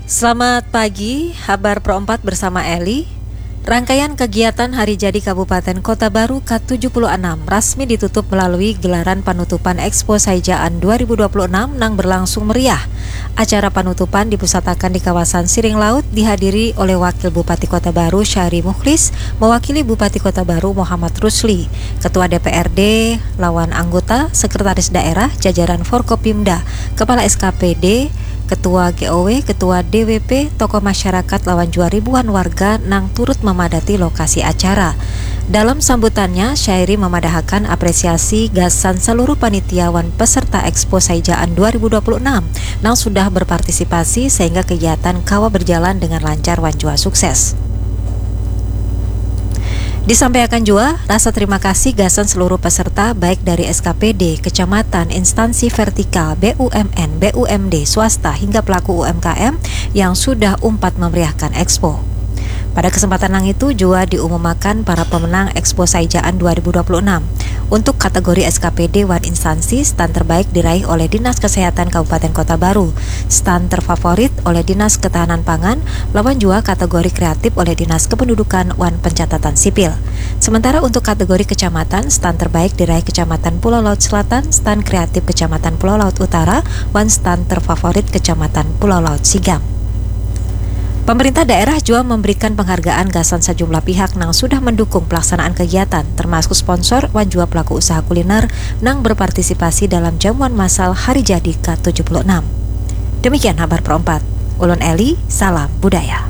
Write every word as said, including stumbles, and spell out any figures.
Selamat pagi, Habar Pro empat bersama Eli. Rangkaian kegiatan Hari Jadi Kabupaten Kota Baru ke tujuh puluh enam rasmi ditutup melalui gelaran panutupan Expo Saijaan dua ribu dua puluh enam nang berlangsung meriah. Acara panutupan dipusatakan di kawasan Siring Laut, dihadiri oleh Wakil Bupati Kota Baru Syahri Mukhlis, mewakili Bupati Kota Baru Muhammad Rusli, Ketua D P R D, lawan anggota, Sekretaris Daerah, jajaran Forkopimda, Kepala S K P D, Ketua G O W, Ketua D W P, tokoh masyarakat lawan jua ribuan warga nang turut memadati lokasi acara. Dalam sambutannya, Syahri memadahakan apresiasi gasan seluruh panitia wan peserta Expo Saijaan dua ribu dua puluh enam nang sudah berpartisipasi sehingga kegiatan kawa berjalan dengan lancar wan jua sukses. Disampaikan jua rasa terima kasih gasan seluruh peserta, baik dari S K P D, kecamatan, instansi vertikal, B U M N, B U M D, swasta, hingga pelaku U M K M yang sudah umpat memeriahkan Expo. Pada kesempatan nang itu jua diumumakan para pemenang Expo Saijaan dua ribu dua puluh enam. Untuk kategori S K P D wan instansi, stand terbaik diraih oleh Dinas Kesehatan Kabupaten Kota Baru, stand terfavorit oleh Dinas Ketahanan Pangan, lawan jua kategori kreatif oleh Dinas Kependudukan wan Pencatatan Sipil. Sementara untuk kategori kecamatan, stand terbaik diraih Kecamatan Pulau Laut Selatan, stand kreatif Kecamatan Pulau Laut Utara, wan stand terfavorit Kecamatan Pulau Laut Sigam. Pemerintah daerah jua memberikan penghargaan gasan sejumlah pihak nang sudah mendukung pelaksanaan kegiatan, termasuk sponsor wan jua pelaku usaha kuliner nang berpartisipasi dalam jamuan massal Hari Jadi ke tujuh puluh enam. Demikian Habar Pro empat. Ulun Eli, salam budaya.